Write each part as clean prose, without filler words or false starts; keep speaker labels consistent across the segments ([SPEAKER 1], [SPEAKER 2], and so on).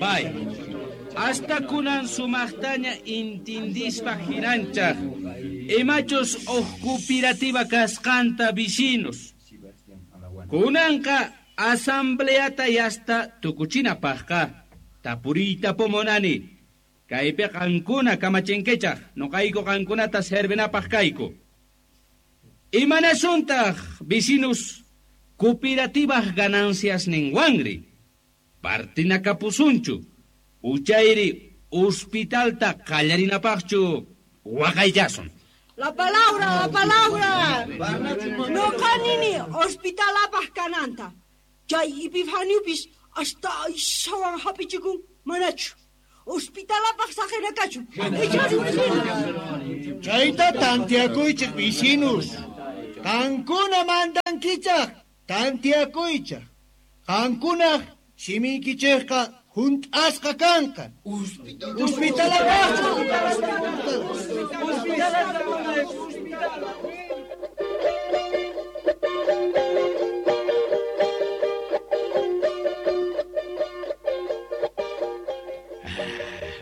[SPEAKER 1] Bay, hasta kunan sumaqtaña intindispa hinanchaq. Imachus uj cooperativa kasqanta vecinos. Kunanqa asambleata yasta tukuchinapaqqa tapuriyta pumunani. Kaypi qankuna kamachinkichaq, nuqayku qankunata servinapaq kayku. Imanasuntaq vecinos cooperativaq ganancias ninwanri. Partinakapusunchu, uchayri hospitalta qallarinapaqchu waqayllasun.
[SPEAKER 2] La palabra, la palabra. Noqanini hospitalapaq kananta. Chay Epifaniopis hasta aysawan hapichikun manachu. Hospitalapaq saqinakachu. Ichari
[SPEAKER 3] Chayta tantiakuychik vecinos. Qankuna mandankichaq tantiakuychaq. Qankunaq simiykichikqa hunt'asqa kanqa. Hospitalapaqchu.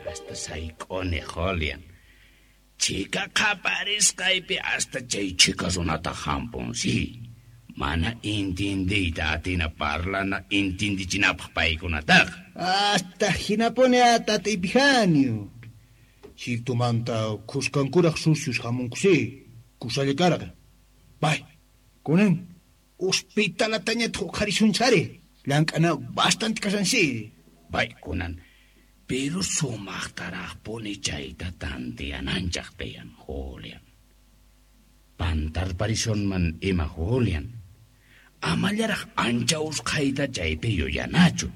[SPEAKER 1] Hasta sayk'uni Julian. Chika qaparisqaypi hasta chay chika runata hampun, sí. Mana intindiyta atina parlana intindichinapaq paykunataqa.
[SPEAKER 3] Hasta hinapuni tata Epifanio. Sirtumanta khuskankuraq sucios hamunkusi, kusalla karqa. Bay, kunan hospitalatañataq uqharisunchari. Llank'ana bastante kashansi.
[SPEAKER 1] Bay, kunan pero sumaqtaraqpuni chayta tantiyananchaq tiyan, Julian. Pantarparisunman ima, Julian. Amallaraq ancha usqhayta chaypi yuyanachu.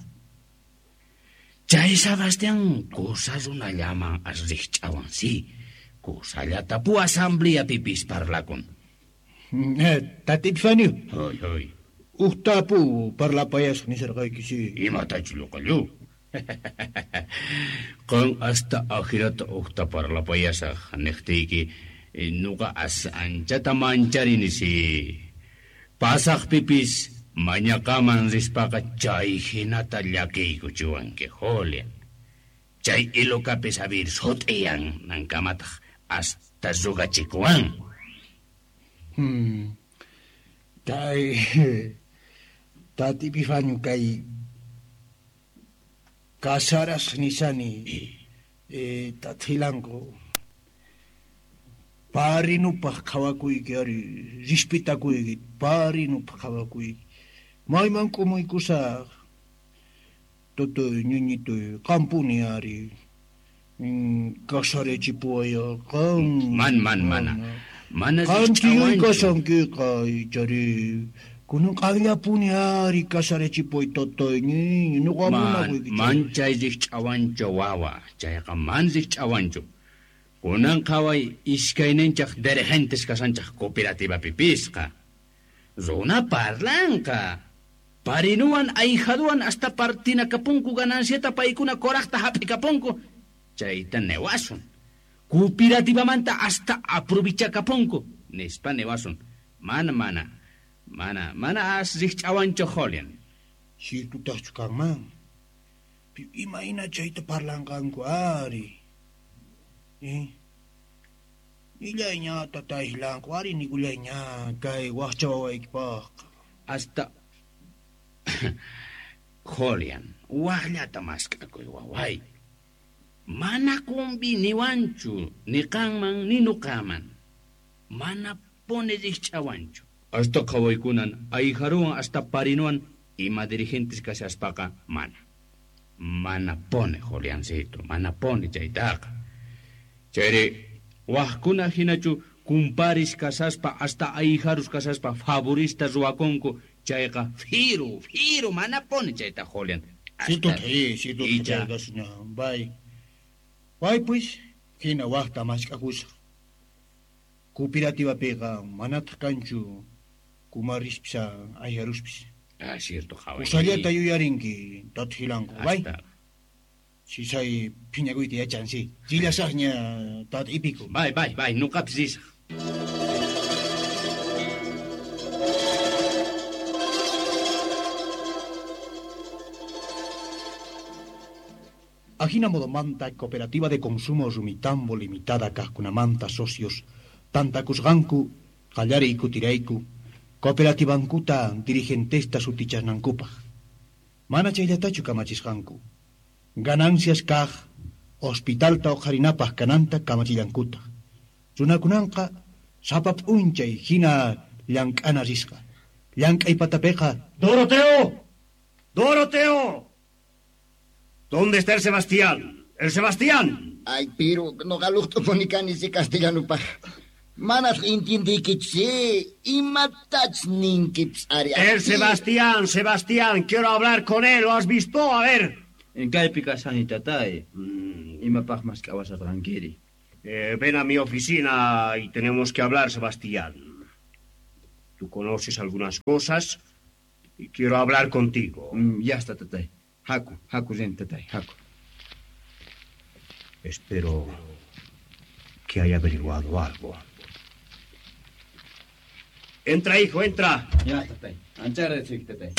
[SPEAKER 1] Chay Sebastián kusa runallaman as rikch'awan, sí. Kusallata pu asambleapipis parlakun.
[SPEAKER 3] Tata Epifanio.
[SPEAKER 1] Hoy, hoy.
[SPEAKER 3] Uqtapu parlapayasaq nisarqayki, sí.
[SPEAKER 1] Imatachu lluqallu. Qan hasta ajirata uqta parlapayasaq niqtiyki, nuqa as anchata mancharini, sí. Pasaqpipis mañaqaman rispaqa chay hinata llakiykuchiwanki, Julian. Chay ilukapis abir sut'iyan nankamataq hasta rugachikuwan.
[SPEAKER 3] Kay Tata Epifanio kay casaras nisani tathilanku parinupaq qhawakuyki ari respetakuyki parinupaq qhawakuyki mayman k'umuykusaq tutuy ñuñituy qampuni ari casarachipuwaya qan
[SPEAKER 1] man man mana mana
[SPEAKER 3] qan tiyuy kasankiqa ichari kunan qanllapuni ari casarachipuy tutuy ñiñu nuqa munakuyki
[SPEAKER 1] man chay rikch'awanchu wawa chayqa man rikch'awanchu. Kunan qhaway iskayninchaq dirigentes kasanchaq cooperativapipisqa. Runa parlanqa. Parinuwan ahijaduwan hasta partinakapunku gananciata paykuna koraqta hap'ikapunku. Chayta newasun. Cooperativamanta hasta aprovichakapunku. Nispa newasun. Mana mana. Mana mana as rikch'awanchu Julian.
[SPEAKER 3] Sirtutaqchu kanman. Imayna chayta parlanqanku ari. Nillayña tataylanku ari nikulayña kay waqcha wawaykipaq.
[SPEAKER 1] Hasta Julian, waqllata mask'akuy waway. Mana kumbiniwanchu ni qanman ni nuqaman. Mana puni rikch'awanchu. Hasta qhawaykunan ahijaruwan hasta parinuwan ima dirigentes kashaspaqa mana. Mana pone, Juliancito, mana pone chaytaqa. Chayri waqkuna hinachu kumparis kasaspa hasta ahijarus kasaspa favorista ruwakunku chayqa firu, firu, mana pone chayta, Julian.
[SPEAKER 3] Sirtuta chayqa bay. Bay pues, hina waqta mask'akusaq. Cooperativapiqa manataq kanchu kumarispis ahijaruspis.
[SPEAKER 1] Ah, cierto, qhaway.
[SPEAKER 3] Usallata yuyarinki, tata Hilanku, bay. Sisay phiñakuyta yachansi. Chillasaqña tata Epico.
[SPEAKER 1] Bay, bay, bay, nuqapis risaq.
[SPEAKER 3] Ajina modomanta Cooperativa de Consumo Rumitambo Limitada kaqkunamanta socios tantakusqanku qallariy kutirayku cooperativankuta dirigentesta sutichasnankupaq. Mana chayllatachu kamachisqanku. Ganancias kaq hospitalta uqharinapaq kananta kamachillankutaq. Runakunanqa sapa p'unchay hina llank'ana risqa. Llank'ay patapiqa
[SPEAKER 4] ¡Doroteo! ¡Doroteo! ¿Dónde está el Sebastián? ¡El Sebastián!
[SPEAKER 5] Ay, pero noqa luqt'upuni kani si castellanupaq. Manas entiendiykichu, imatach ninkipis ari.
[SPEAKER 4] El Sebastián, Sebastián, quiero hablar con él, ¿lo has visto? A ver.
[SPEAKER 1] Kaypi kashani tatay. Imapaq mask'awasharqankiri.
[SPEAKER 4] Ven a mi oficina y tenemos que hablar, Sebastián. Tú conoces algunas cosas y quiero hablar contigo.
[SPEAKER 1] Ya está, tatay. Haku, haku rin, tatay, haku.
[SPEAKER 4] Espero que haya averiguado algo. Entra, hijo, entra.
[SPEAKER 1] Ya, tatay. Ancha agradeciyki, tatay.